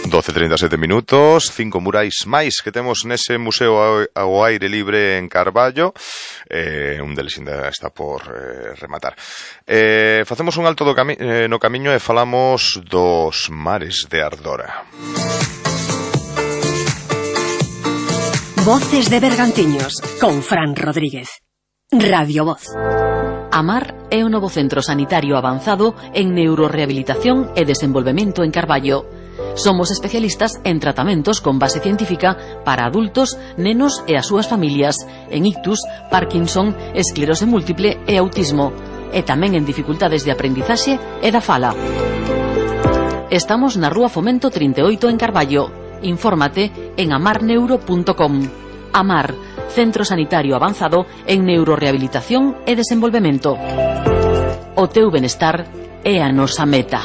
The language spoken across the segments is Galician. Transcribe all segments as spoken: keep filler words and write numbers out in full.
doce e trinta e sete minutos, cinco murais máis que temos nese museo ao aire libre en Carballo, eh, un deles ainda está por eh, rematar. Eh, facemos un alto do cami eh, no camiño e falamos dos mares de Ardora. Voces de Bergantiños, con Fran Rodríguez. Radio Voz. Amar é o novo centro sanitario avanzado en neurorehabilitación e desenvolvemento en Carballo. Somos especialistas en tratamentos con base científica para adultos, nenos e as súas familias, en ictus, Parkinson, esclerose múltiple e autismo, e tamén en dificultades de aprendizaxe e da fala. Estamos na Rúa Fomento trinta e oito en Carballo. Infórmate en amar neuro punto com. Amar, centro sanitario avanzado en neurorehabilitación e desenvolvemento. O teu benestar é a nosa meta.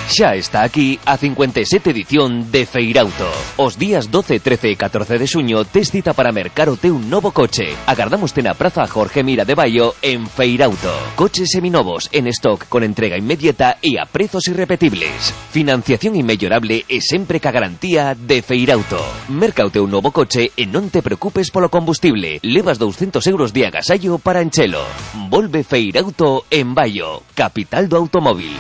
Xa está aquí a cincuenta e sete edición de Feirauto. Os días doce, trece e catorce de xuño tes cita para mercar o teu novo coche. Agardámoste na Praza Jorge Mira de Baio en Feirauto. Coches seminovos en stock con entrega inmediata e a prezos irrepetibles. Financiación inmellorable e sempre ca garantía de Feirauto. Merca o teu novo coche e non te preocupes polo combustible. Levas douscentos euros de agasallo para enchelo. Volve Feirauto en Baio, capital do automóvil.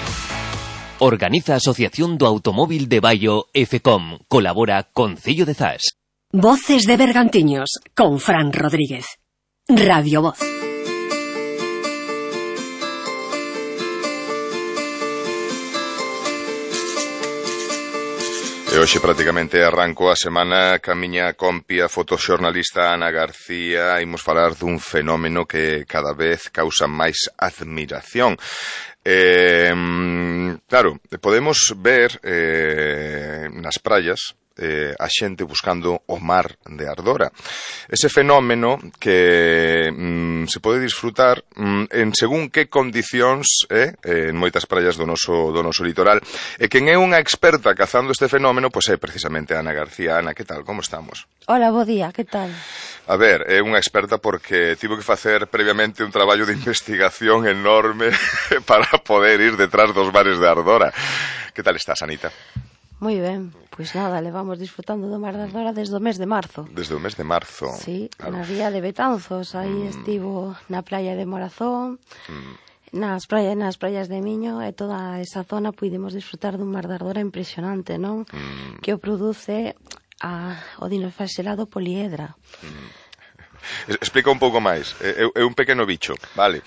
Organiza a Asociación do Automóvil de Baio e FECOM. Colabora Concello de Zas. Voces de Bergantiños, con Fran Rodríguez. Radio Voz. E hoxe prácticamente arranco a semana ca miña compia fotoxornalista Ana García. Imos falar dun fenómeno que cada vez causa máis admiración. Eh, claro, podemos ver eh, nas praias eh, a xente buscando o mar de Ardora. Ese fenómeno que mm, se pode disfrutar mm, en según que condicións eh, en moitas praias do noso, do noso litoral. E quen é unha experta cazando este fenómeno, pois é precisamente Ana García. Ana, que tal? Como estamos? Hola, bo día, que tal? A ver, é unha experta porque tivo que facer previamente un traballo de investigación enorme para poder ir detrás dos mares de Ardora. Que tal estás, Anita? Moi ben, pois nada, levamos disfrutando do mar de Ardora desde o mes de marzo. Desde o mes de marzo. Sí, claro. Na ría de Betanzos, aí mm. estivo na playa de Morazón, mm. nas praias, nas praias de Miño, e toda esa zona pudimos disfrutar dun mar de Ardora impresionante, non? Mm. Que o produce a, o dinoflagelado poliedra. Mm. Explica un pouco máis. É, é un pequeno bicho, vale?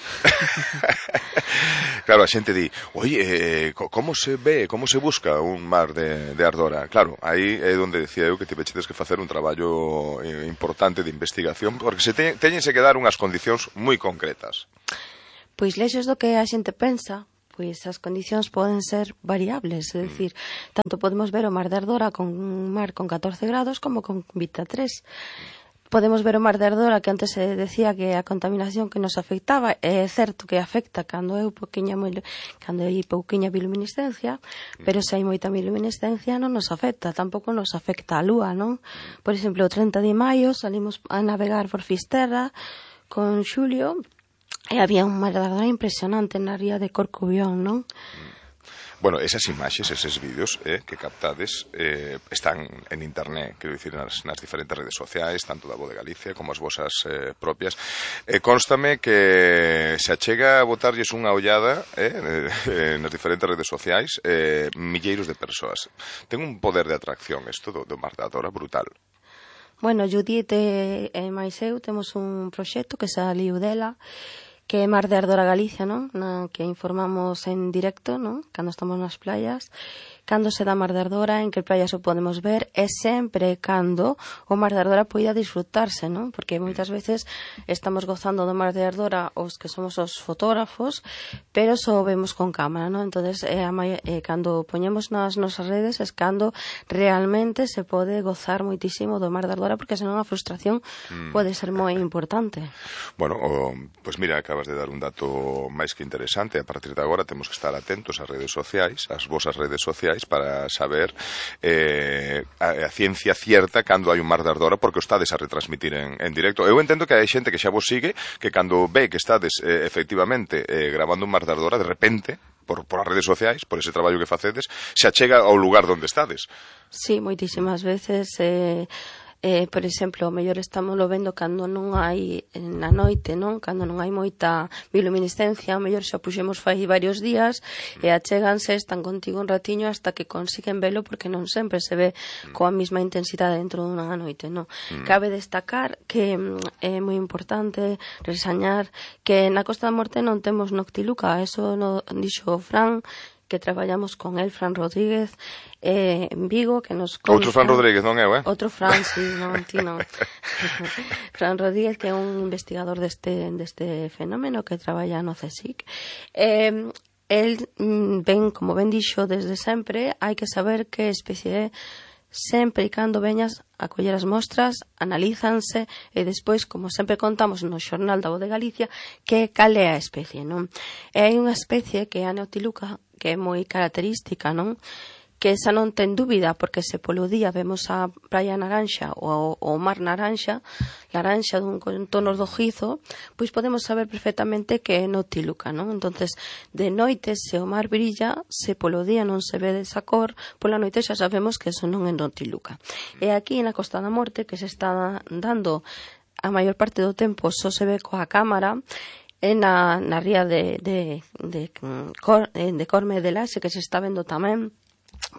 Claro, a xente di, oye, como se ve, como se busca un mar de, de Ardora? Claro, aí é onde decía eu que te vechedes que facer un traballo importante de investigación, porque se te, teñense que dar unhas condicións moi concretas. Pois lexos do que a xente pensa, pois as condicións poden ser variables, é dicir, tanto podemos ver o mar de Ardora con un mar con catorce grados como con vinte e tres. Podemos ver o mar de Ardora, que antes se decía que a contaminación que nos afectaba, é certo que afecta cando é pouquiña, cando hai pouquiña bioluminiscencia, pero se hai moita bioluminiscencia non nos afecta, tampouco nos afecta a lúa, non? Por exemplo, o trinta de maio salimos a navegar por Fisterra con Xulio e había un mar de Ardora impresionante na ría de Corcubión, non? Bueno, esas imaxes, eses vídeos eh, que captades eh, están en internet, quero dicir, nas, nas diferentes redes sociais, tanto da Voz de Galicia como as vosas eh, propias. Eh, constame que se achega a botarlles unha ollada eh, eh, nas diferentes redes sociais eh, milleiros de persoas. Ten un poder de atracción isto do, do Mar de Ardora brutal. Bueno, Judith e, e máis eu temos un proxecto que saliu dela, que é Mar de Ardora Galicia, non? Na que informamos en directo, non? Cando estamos nas playas, cando se dá Mar de Ardora, en que playas o podemos ver, e sempre cando o Mar de Ardora poida disfrutarse, non? Porque moitas veces estamos gozando do Mar de Ardora os que somos os fotógrafos, pero só vemos con cámara, non? Entonces, é a mai... é cando poñemos nas nosas redes é cando realmente se pode gozar moitísimo do Mar de Ardora, porque senón a frustración mm. pode ser moi importante. Bueno, o, pues mira, acabas de dar un dato máis que interesante. A partir de agora temos que estar atentos ás redes sociais, ás vosas redes sociais, para saber eh, a, a ciencia cierta cando hai un Mar de Ardora, porque o estades a retransmitir en, en directo. Eu entendo que hai xente que xa vos sigue, que cando ve que estades eh, efectivamente eh, grabando un Mar de Ardora, de repente por, por as redes sociais, por ese traballo que facedes, se achega ao lugar onde estades. Sí, moitísimas veces... Eh... Eh, por exemplo, o mellor estamos lo vendo cando non hai na noite, non? Cando non hai moita bioluminiscencia, o mellor xa puxemos fai varios días e achéganse, están contigo un ratiño hasta que consiguen velo, porque non sempre se ve coa mesma intensidade dentro dunha noite, non? Mm. Cabe destacar que é moi importante resañar que na Costa da Morte non temos noctiluca, eso no dixo Fran, que traballamos con el, Fran Rodríguez, eh, en Vigo, que nos consta... Outro Fran Rodríguez, non eu, eh? Outro Fran, sí, non, ti non. Fran Rodríguez, que é un investigador deste, deste fenómeno, que traballa no CSIC. Eh, el, ben, como ben dixo desde sempre, hai que saber que especie é sempre e cando veñas a coller as mostras, analízanse e despois, como sempre contamos no xornal da Voz de Galicia, que cal é a especie, non? E hai unha especie que é a Neotiluca, que é moi característica, non? Que esa non ten dúbida, porque se polo día vemos a praia naranxa ou o mar naranxa, laranxa dun con tonos rojizo, pois podemos saber perfectamente que é Neotiluca, non? Entonces, de noite, se o mar brilla, se polo día non se ve desa cor, pola noite xa sabemos que eso non é Neotiluca. E aquí na Costa da Morte, que se está dando a maior parte do tempo, só se ve coa cámara, e na, na ría de, de, de, de, de Corme de Laxe, que se está vendo tamén,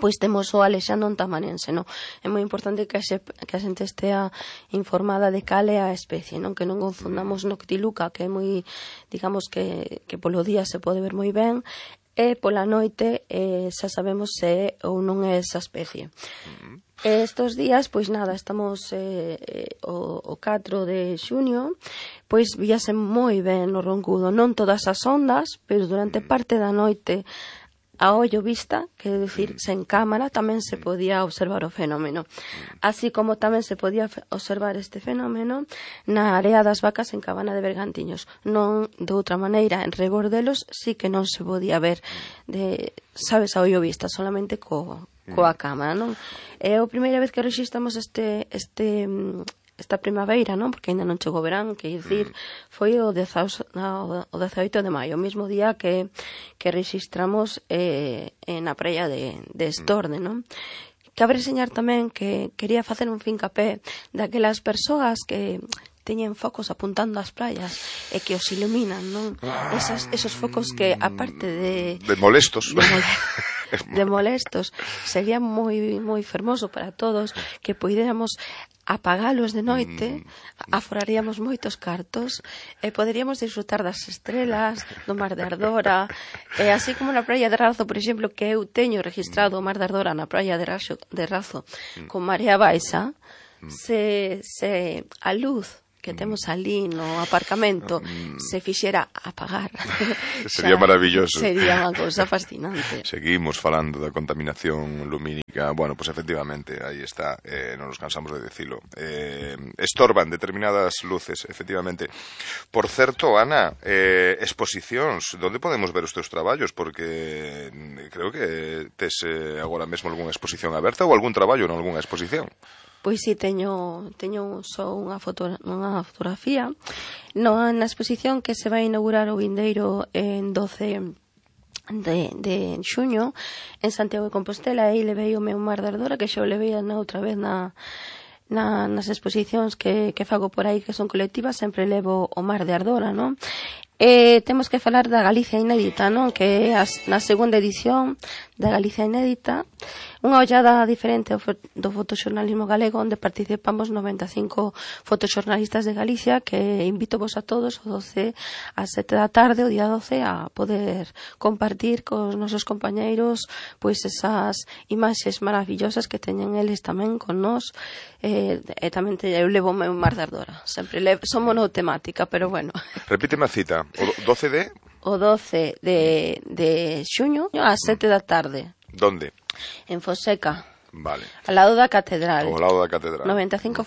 pois temos o Alexandro Tamanense, non? É moi importante que a, xe, que a xente estea informada de cal é a especie, non? Que non confundamos Noctiluca, que é moi, digamos que, que polo día se pode ver moi ben, e pola noite eh, xa sabemos se é ou non é esa especie. E estos días, pois nada, estamos eh, o, o catro de xuño, pois víase moi ben no Roncudo, non todas as ondas, pero durante parte da noite a ollo vista, quero dicir, sen cámara, tamén se podía observar o fenómeno. Así como tamén se podía observar este fenómeno na Area das Vacas en Cabana de Bergantiños. Non de outra maneira, en Regordelos sí que non se podía ver, de, sabes, a ollo vista, solamente co, coa cámara, non? É a primeira vez que registramos este... este esta primavera, non? Porque ainda non chegou o verán, que dicir, foi o dezaoito de maio, o mesmo día que, que registramos eh, na praia de, de Estorde, non? Cabe reseñar tamén que quería facer un fincapé daquelas persoas que teñen focos apuntando ás praias e que os iluminan, non? Esas, esos focos que, aparte de... De molestos. De, mole, de molestos, sería moi moi fermoso para todos que poidéramos apagalos de noite, aforaríamos moitos cartos e poderíamos disfrutar das estrelas, do mar de Ardora, e así como na praia de Razo, por exemplo, que eu teño registrado o mar de Ardora na praia de Razo, de Razo con marea baixa, se, se a luz que temos ali no aparcamento se fixera apagar. Sería maravilloso. Sería unha cousa fascinante. Seguimos falando da contaminación lumínica. Bueno, pues efectivamente, aí está, eh, non nos cansamos de decilo. Eh, estorban determinadas luces, efectivamente. Por certo, Ana, eh, exposicións, onde podemos ver os teus traballos? Porque creo que tes eh, agora mesmo algunha exposición aberta ou algún traballo en algunha exposición. Pois si, teño, teño só unha, foto, unha fotografía no, na exposición que se vai inaugurar o vindeiro en doce de, de xuño en Santiago de Compostela, e levei o meu mar de Ardora, que xa o levei na outra vez na, na, nas exposicións que, que fago por aí, que son colectivas, sempre levo o mar de Ardora, non? E temos que falar da Galicia Inédita, non? Que é as, na segunda edición da Galicia Inédita, unha ollada diferente do fotoxornalismo galego, onde participamos noventa e cinco fotoxornalistas de Galicia, que invito vos a todos o doce a sete da tarde, o día doce, a poder compartir cos nosos compañeiros pois esas imaxes maravillosas que teñen eles tamén con nós, e, e tamén te, eu levo o meu mar de Ardora, sempre levo, son monotemática, pero bueno. Repíteme a cita, o doce de... O doce de, de xuño a sete da tarde. Donde? En Fonseca. Vale. Ao lado da catedral. Ao lado da catedral. noventa e cinco